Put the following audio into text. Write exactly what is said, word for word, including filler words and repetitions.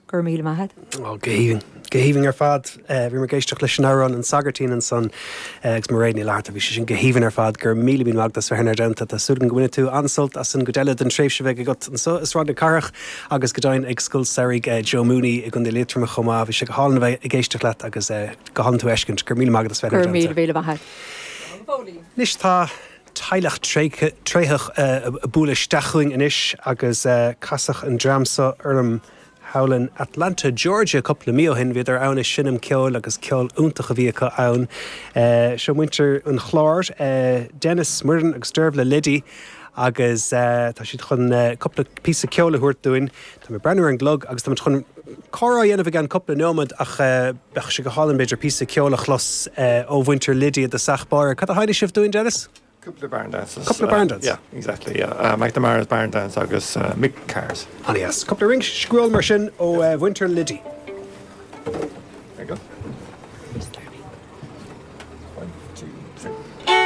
Gur míle maith. Ó go haoibhinn go haoibhinn ar fad bhí mé ag éisteacht leis an amhrán an Sagairtín ansan agus Mairéad Ní Fhlatharta bhí sé sin go haoibhinn ar fad gur míle míle maith as bheith inár dteannta Tá súil go mbainfidh tú an-sult as an gcuid eile den tréimhse bheidh agat anseo i Sráid na Cathrach agus go deimhin ag Scoil Samhraidh Joe Mooney i gContae Liatroma chomh maith bhí sé go hálainn a bheith ag éisteacht leat agus go hálainn tú a fheiscint gur míle maith as bheith Gur míle míle maith. Anois tá teaghlach tréitheach bualadh isteach chugainn anois agus casadh an dream seo orm thall in Atlanta, Georgia cúpla mí ó shin bhíodar ann ag seinm ceoil agus ceol iontach a bhí acu ann. Seo muintir an Chláir Dennis Muireann agus Dearbhla Liddy agus tá siad chun cúpla píosa ceoil a thabhairt dúinn. Tá mé breathnú ar an gclog agus tá chun comhrá a dhéanamh againn cúpla nóiméad ach bheadh sé go hálainn b'fhéidir píosa ceoil a chlos ó mhuintir Liddy i dtosach báire. Cad a sheinnfidh sibh dúinn Dennis? Cúpla barn dances. Cúpla barn dance? Uh, yeah, exactly. Yeah. Uh, McNamara's barn dance agus uh, Mick Cars. An yes. Cúpla rince scrúil mar sin ó uh, mhuintir Liddy. There you go.